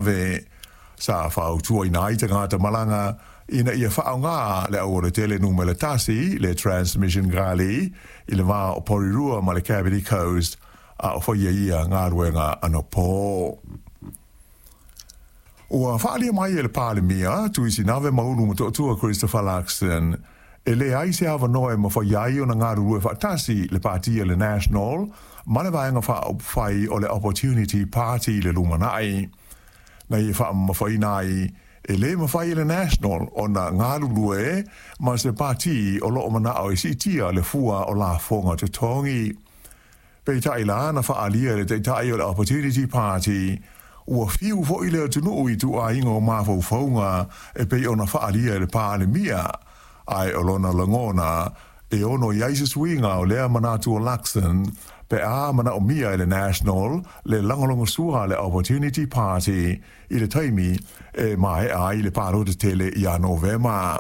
Ve sa fautuaina ai tagata malaga ina ia faaaoga le aualatele numera tasi, le Transmission Gully, i le va o Porirua ma le Kapiti Coast, a o faia ia galuega anapo. Ua faaalia mai e le Palemia, Tuisinave Maulu Motootua Christopher Luxon, e leai se avanoa e mafai ai ona galulue faatasi le Pati a le National ma le Vaega Faaupufai o le Opportunity Party i le lumanai. Na ia faamamafaina ai, e le mafai e le National ona galulue ma se pati o lo o manao e siitia le fua o lafoga totogi. Peitai la na faaalia e le Taitai o le Opportunity Party, ua fiu foi le atunuu i ituaiga o mafaufauga e pei ona faaalia e le Palemia, ae o lona lagona e ono i ai se suiga o lea manatu o Luxon pe a manaomia e le National le lagolagosua a le Opportunity Party i le taimi e maea ai le palota tele ia Novema.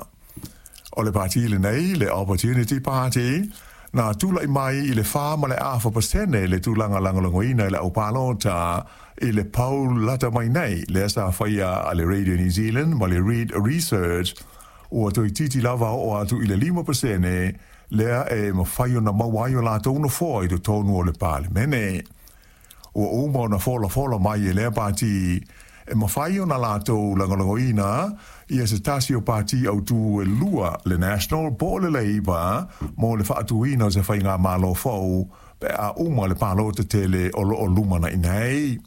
O le pati lenei, le Opportunity Party, na tulai mai i le 4.5% le tulaga lagolagoina e le aupalota i le poll lata mai nei lea sa faia a le Radio New Zealand ma le Reid Research, ua toeitiiti lava oo atu i le 5% lea e mafai ona maua ai o latou nofoa i totonu o le Palemene. Ua uma ona folafola mai e lea pati e mafai ona latou lagolagoina ia se tasi o pati autū e lua, le National po o le Labour, mo le faatuina o se faigamalo fou pe a uma le palota tele o lo o lumanai nei.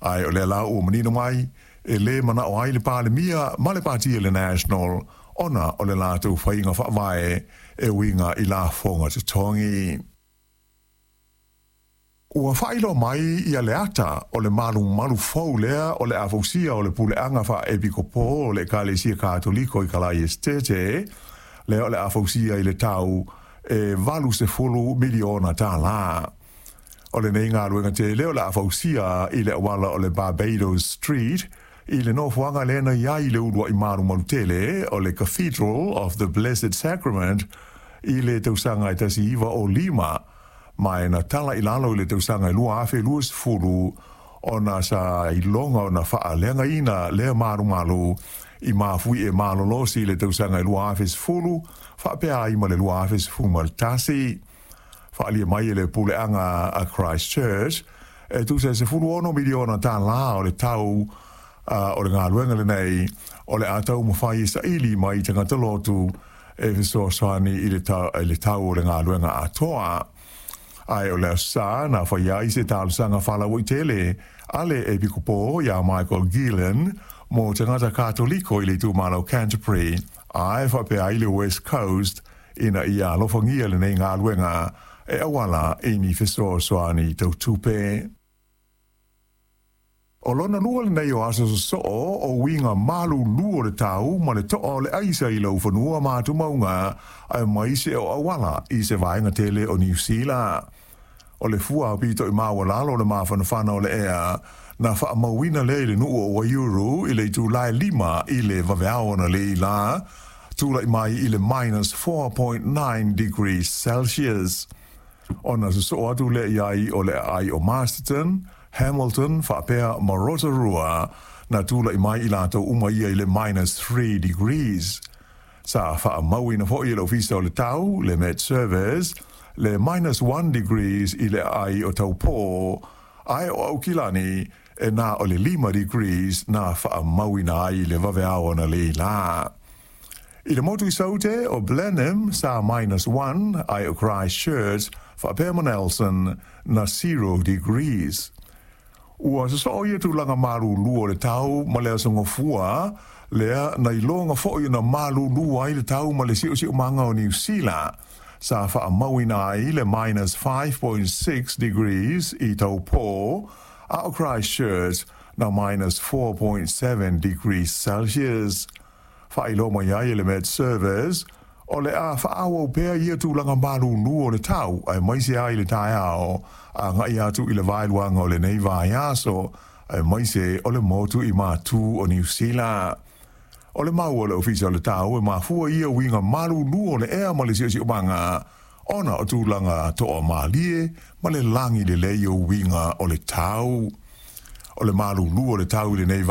Ae o lea la ua manino mai, e lē manao ai le Palemia ma le pati a le National ona o le latou faiga faavae e uiga i lafoga totogi. Ua faailoa mai ia le ata o le malumalu fou lea o le a fausia o le puleaga faa-epikopo o le Ekalesia Katoliko i Kalaesetete, lea o le a fausia i le tau e 80 miliona tālā. O lenei galuega tele o le a fausia i le auala o le Barbados Street i le nofoaga lea na i ai le uluai malumalu tele o le Cathedral of the Blessed Sacrament i le tausaga e 1905, ma e na tala i lalo i le tausaga e 2020 ona sa iloga ona faaleagaina lea malumalu i mafuie malolosi i le tausaga e 2010 faapea ai ma le 2011. Faaalia mai e le puleaga a Christchurch e tusa e 16 miliona tālā o le tau o le galuega lenei o le a taumafai e saili mai tagata lotu e fesoasoani i le tau o le galuega atoa. Ae o le Aso Sa na faia ai se talosaga faalauaitele a le Epikopo iā Michael Gillen mo tagata Katoliko i le itumalo Canterbury ae faapea ai le West Coast ina ia alofagia lenei galuega e auala i ni fesoasoani tau tupe. O lona lua lenei o aso sosoo o uiga malulu o le tau ma le toa o le aisa i laufanua ma atumauga aemaise o auala i se vaega tele o Niu Sila. O le fua aupito i maualalo o le mafanafana o le ea na faamauina lea i le nuu o Waiuru i le itula e 5 i le vaveao analeila la, tulai mai i le minus 4.9 degrees Celsius. Ona sosoo atu lea i ai o le aai o Masterton, Hamilton faapea ma Rotorua, na tulai mai i latou uma ia i le minus 3 degrees. Sa faamauina foi e le Ofisa o le Tau, le Met Service, le minus 1 degrees i le aai o Taupō, ae o Aukilani e na o le 5 degrees na faamauina ai i le vaveao analeila. I le motu i Saute o Blenheim sa minus 1, ae o Christchurch faapea ma Nelson na 0 degrees. Ua sosoo ia tulaga malulu o le tau ma le aso Gafua lea na iloga foi ona malulu ai le tau ma le siosiomaga o Niu Sila, sa faamauina ai le minus 5.6 degrees i Taupō, a o Christchurch na minus 4.7 degrees Celsius. Faailoa mai ai e le Met Service, o le a faaauau pea ia tulaga malulu o le tau aemaise ai le taeao agai atu i le vaeluaga o lenei vaiaso, aemaise o le motu i Matu o Niu Sila. O le mau a le Ofisa o le Tau e mafua ia uiga malulu o le ea ma le siosiomaga ona o tulaga toamalie ma le lagi lelei o uiga o le tau. O le malūlū o le tau i lenei.